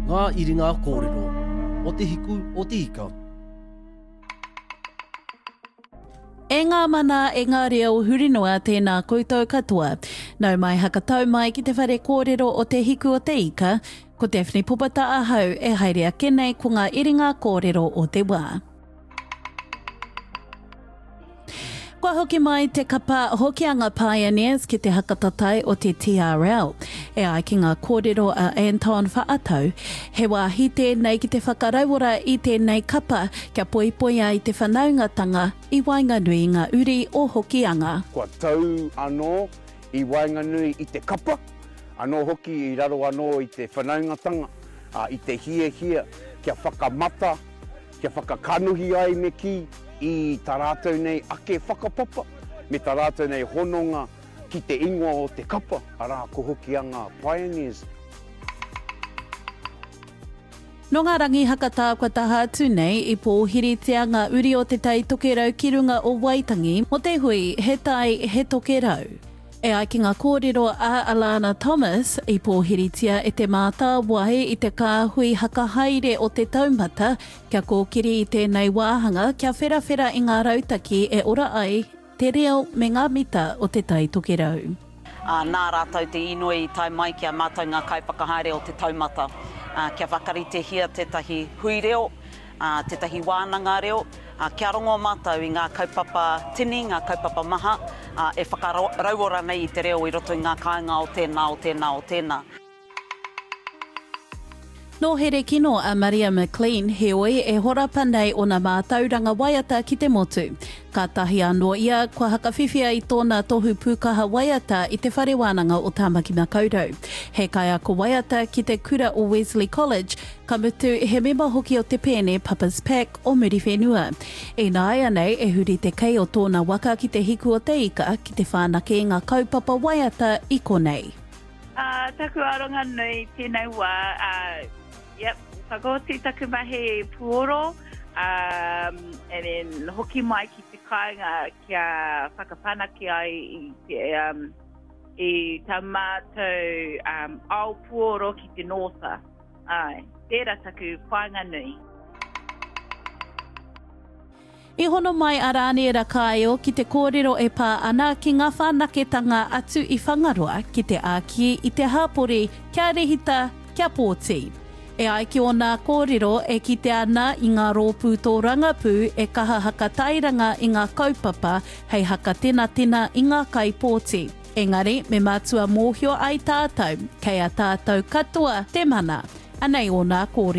Ngā iringa kōrero o Te Hiku o Te Ika. E ngā mana, e ngā reo huri noa, tēnā koutou katoa. Nau mai hakatau mai ki te whare kōrero o Te Hiku o Te Ika, ko Daphne Popata ahau e haere ake nei ko ngā iringa kōrero o te wā. Kua hoki mai te kapa Hokianga Pioneers ki te hakatatai o te TRL. E ai ki ngā kōrero a Anton Whaatau, he wāhi tēnei ki te whakarauora i tēnei kapa kia poipoia i te whanaungatanga i waenganui i ngā uri o Hokianga. Kua tau anō i waenganui i te kapa, anō hoki i raro anō i te whanaungatanga, ā, i te hiahia kia whakamata kia whakakanohi ai me kī i tā rātou nei ake whakapapa me tā rātou nei hononga ki te ingoa o te kapa, arā, ko Hokianga Pioneers. Nō ngā rangi hakatā kua taha atu nei, i pōhiritia ngā uri o Te Tai Tokerau ki runga o Waitangi mō te hui He Tai, He Tokerau. E ai ki ngā kōrero a Alana Thomas, i pōhiritia e Te Mātāwai i te kāhui hakahaere o Te Taumata kia kōkiri i tēnei wāhanga kia wherawhera i ngā rautaki e ora ai te reo me ngā mita o Te Tai Tokerau. Ā, nā rātou te inoi i tae mai ki a mātou ngā kaiwhakahaere o Te Taumata, ā, kia whakaritehia tētahi hui reo, ā, tētahi wānanga reo, ā, kia rongo mātou i ngā kaupapa tini, ngā kaupapa maha, ā, e whakarauora nei i te reo i roto i ngā kāinga o tēnā, o tēnā, o tēnā. Nō Herekino a Maria McLean, heoi e horapa nei ōna mātauranga waiata ki te motu. Kātahi anō ia kua hakawhiwhia i tōna tohu pūkaha waiata i Te Whare Wānanga o Tāmaki Makaurau. He kaiako waiata ki te kura o Wesley College, Ka mutu, he mema hoki o te pēne Papa's Pack o Muriwhenua. Ināianei e huri te kei o tōna waka ki te hiku o te ika ki te whānake i ngā kaupapa waiata i konei. Ā, taku aronga nui tēnei wā, ā, yep, whakaoti taku mahi puoro, ā, and then hoki mai ki te kāinga kia whakawhanake ai i te, um, i tā mātou, um, ao puoro ki te Northa. Āe, tērā taku whāinga nui. I hono mai a Rāniera Kāeo ki te kōrero e pā ana ki ngā whanaketanga atu i Whangaroa ki te āki i te hāpori kia rehita, kia pōti. E ai ki ōnā kōrero e kite ana i ngā rōpū tōrangapū e kaha hakatairanga i ngā kaupapa hei hakatenatena i ngā kaipōti. Engari, me mātua mōhio ai tātou, kei a tātou katoa te mana. Anei ōna kōrero.